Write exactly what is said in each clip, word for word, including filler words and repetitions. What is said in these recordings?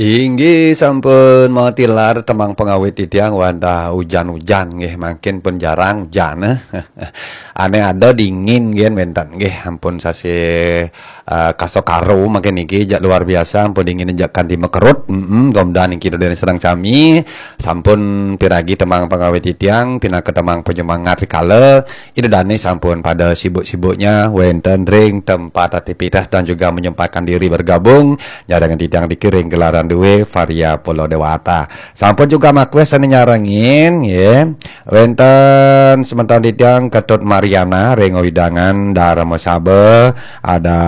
Inggih sampun matilar tembang pengawit titiang wadah ujan-ujan nggih, mangkin pun jarang ujan. Ane ada dingin nggih wenten nggih, ampun sasih eh, kaso karo mangkin niki jak luar biasa, ampun dingin jak kanti mekerut. Mm-mm, mudah-mudahan niki ida dané sareng sami sampun piragi tembang pengawit titiang pinaka tembang penyemangat rikala ida dané sampun pada sibuk-sibuknya wenten ring tempat aktivitas dan juga menyempatkan diri bergabung nyarengin titiang niki ring gelaran dué Varia Pulau Dewata. Sampun juga makwes ane nyarengin nggih. Wenten semeton titiang Ketut Mariana ring wewidangan Dharmasaba, ada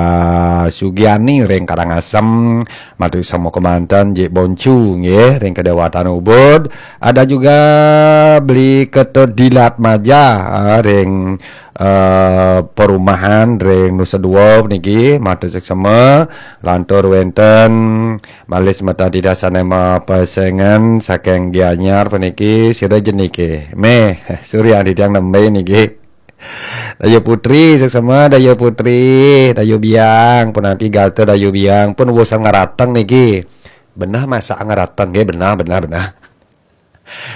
Sugiani ring Karangasem, matur sama kemanten Jik Boncu nggih ring Kedewatan Ubud, ada juga Beli Ketut Dilat Maja ah, ring eh, perumahan ring Nusa Dua niki, matur suksema. Lantur wenten malih semeton titiang sane mapesengan saking Gianyar puniki, sira jenike. Meh, Surya titiang nembe niki. Dayu Putri, suksema Dayu Putri, Dayu Biang, punapi gatra Dayu Biang, pun wusan ngarateng niki. Benah masak ngarateng nggih, benah, benah, benah.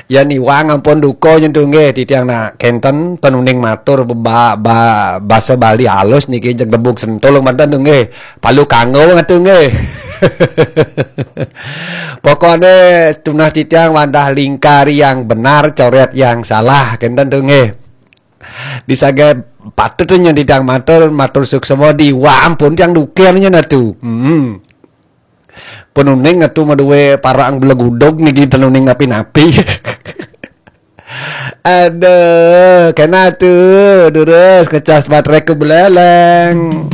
Ya niwang ampun duka nyen tu nggih, titiang nak kenten ten uning matur ba, ba, basa Bali alus niki jeg debug sentul manten tu nggih. Palu kanggo ngatu nggih. Pokokne tunah titiang wadah lingkari yang benar, coret yang salah, kenten tu nggih. Disagai patut nyen titiang matur, matur suksema diwang pun tiang dukir nyen atu. Hmm. Penuning atu madue parang belegudog niki tenuning napi-napi. Aduh, kena tu durus kecas baterai ku beleleng.